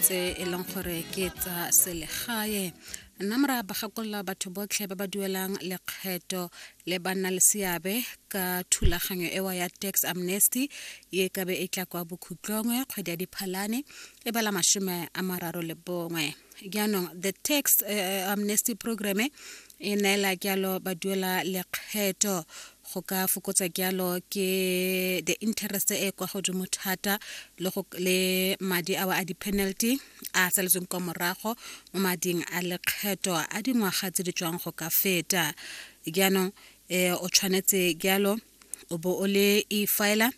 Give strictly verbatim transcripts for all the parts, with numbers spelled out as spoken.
Tse e leng gore ke tsa selegae. Namra ba gakolola batho botlhe ba ba duelang lekgetho le ba nna le seabe ka thulaganyo ewa ya tax amnesty ye ka be e tla kwa bokhutlong kgwedi ya Diphalane e bala masome a mararo le bongwe. Jaanong the tax uh, amnesty program e neela jalo ba duela lekgetho go ka fokotsa jalo ke the interest e kwa godimo thata le go le madi ao a di-penalty a saletsweng kwa morago mo mading a lekgetho a dingwaga tse di tswang go ka feta. Jaanong um o tshwanetse jalo o bo o le e-filer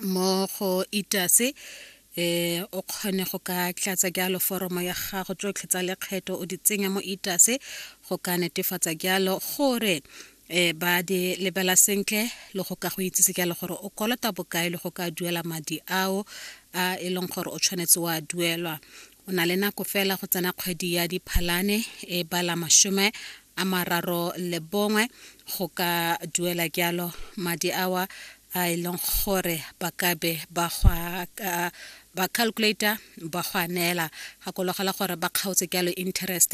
mo go E T A S, eh o kgone go ka tlatsa jalo foromo ya gago tsotlhe tsa lekgetho, o di tsenya mo E T A S go ka netefatsa jalo gore eh ba di lebela sentle le go ka go itsise jalo gore o kolota bokae le go ka duela madi ao a e leng gore o tshwanetse wa duelwa. O na le nako fela go tsena kgwedi ya Diphalane e bala masome a mararo le bongwe go ka duela jalo madi awa a e leng gore ba ka be ba gwa ba calculator ba go a neela. Gakologela gore ba kgaotse jalo interest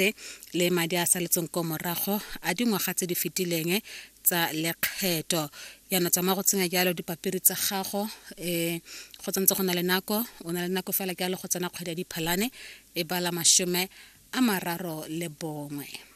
le madi a saletseng ko morago a dingwaga tse di fetileng tsa lekgetho. Jaanong tsamaya go tsenya jalo dipampiri tsa gago um go tsantse go na le nako. O na le nako fela jalo go tsena kgwedi ya Diphalane e bala masome a mararo le bongwe.